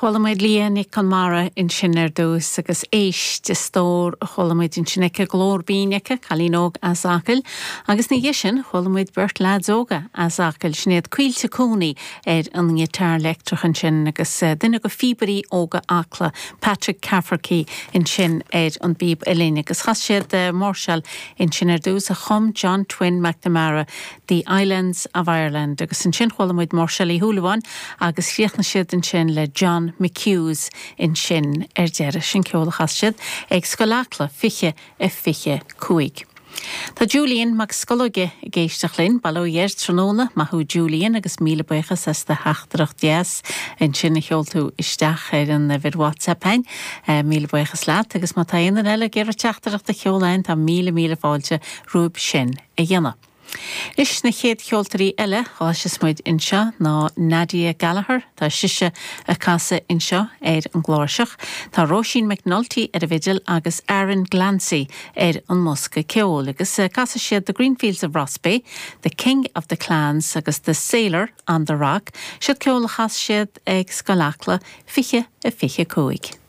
Chuala muid Leah Nic Conmara ansin ar dtús agus Éist, a stór a chuala muid ansin aici, glór binn aici, cailín óg as Acaill. Agus ina dhiaidh sin chuala muid beirt leaids óga as Acaill, sin iad Caoilte Cooney ar an ngiotár leictreach ansin agus duine de phíobairí óga Acla, Patrick Cafferkey ansin ar an bpíob uillinn. Agus chas siad máirseáil ansin ar dtús a chum John Twin McNamara The Islands of Ireland agus ansin chuala muid Máirseáil Uí Shúilleabháin agus chríochnaigh siad ansin le John McHugh's ansin ar deireadh. Sin ceol a chas siad ag Scoil Acla 20 a 25. Tá Julian Mac Scolóige ag éisteacht linn, Baile Ó Dheir tráthnóna. Maith thú Julian agus míle buíochas as do theachtaireacht dheas ansin a sheol tú isteach ar an uimhir WhatsApp a'inn. Míle buíochas leat agus má tá aon duine eile ag iarraidh teachtaireacht a sheoladh a'inn tá míle míle fáilte romhaibh sin a dhéanamh. Anois na chéad cheoltóirí eile a chloisfeas muid anseo ná Nadia Gallagher, tá sise ag casadh anseo ar an gcláirseach, tá Róisín McNulty ar an bhfidil agus Aaron Glancy ar an mbosca ceoil agus casfaidh siad The Greenfields of Rossbeigh, The King of the Clans agus The Sailor on the Rock, siod ceol a chas siad ag Scoil Acla 20 a 25.